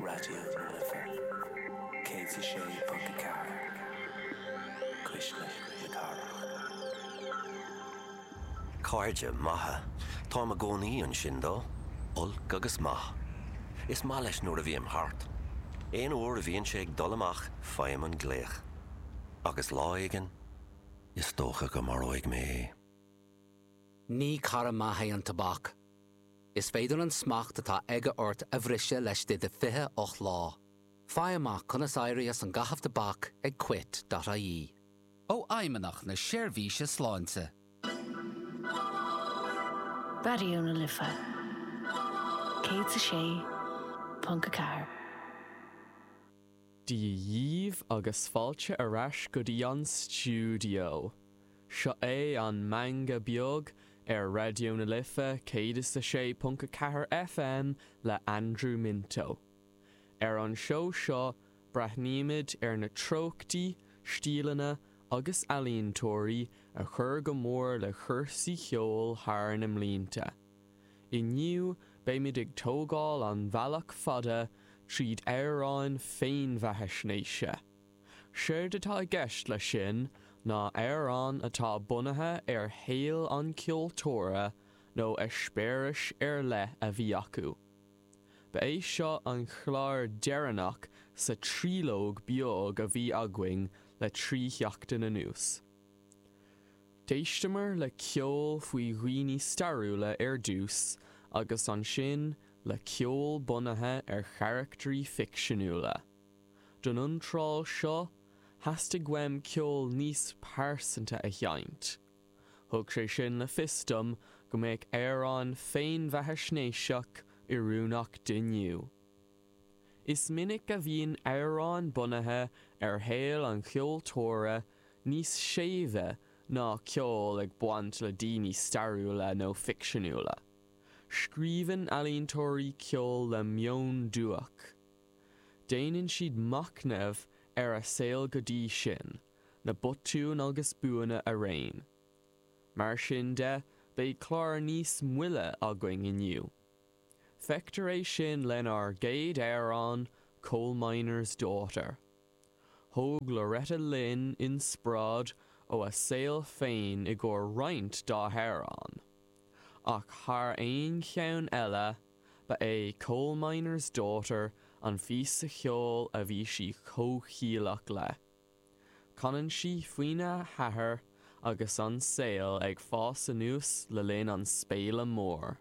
Raidió na Life 106.4, Cuisle na Cathrach. Cairde maithe. Táim i gcónaí ansin dó. Olc agus maith. Is maith leis nuair a bhím thart. Aon uair a bhíonn sé ag dul amach faighim an glaoch. Agus lá éigin, is dócha go maróidh mé é. Ní cara maith é an tobac. Is féidir an smacht atá aige ort a bhriseadh laistigh de 28 lá. Faigh amach conas éirí as an gcaitheamh tobac ag quit.ie. Ó Fheidhmeannacht na Seirbhíse Sláinte. Raidió na Life 106.4. Dia dhíbh agus fáilte ar ais go dtí an stiúideo. Seo é an Meangadh Beag ar Raidió na Life 106.4 FM le Andrew Minto. Ar an seó seo breathnaímid ar na treochtaí, stíleanna agus ealaíontóirí a chuir go mór le cúrsaí ceoil thar na mblianta. Inniu beimid ag tógáil an bhealach fada tríd amhráin féinbheathaisnéise. Séard atá i gceist leis sin ná amhráin atá bunaithe ar shaol an cheoltóra nó eispéiris ar leith a bhí acu. Ba é seo an clár deireanach sa tríológ beag a bhí againn le 3 sheachtain anuas. D'éisteamar le ceol faoi dhaoine stairiúla ar dtús agus ansin le ceol bunaithe ar charactairí ficseanúla. Don iontráil seo, theastaigh uaim ceol níos pearsanta a sheinnt. Thug sé sin le fios dom go mbeadh amhrán féinbheathaisnéiseach oiriúnach d'inniu. Is minic a bhíonn amhráin bunaithe ar shaol an cheoltóra níos séimhe ná ceol ag baint le daoine stairiúla nó ficseanúla. Scríobhann ealaíontóirí ceol le meon duaich. Déanann siad machnamh ar a saol go dtí sin, na botúin agus buanna araon. Mar sin de, beidh clár níos moille againn inniu. Feictear é sin lenár gcéad amhrán, Coal Miner's Daughter. Thóg Loretta Lynn inspioráid ó a saol féin i gcomhair roinnt dá hamhráin. Ach thar aon cheann eile, ba é Coal Miner's Daughter an phíosa cheoil a bhí sí comhchiallach le. Canann sí faoina hathair agus an saol ag fás anuas le linn an Spéala Mór.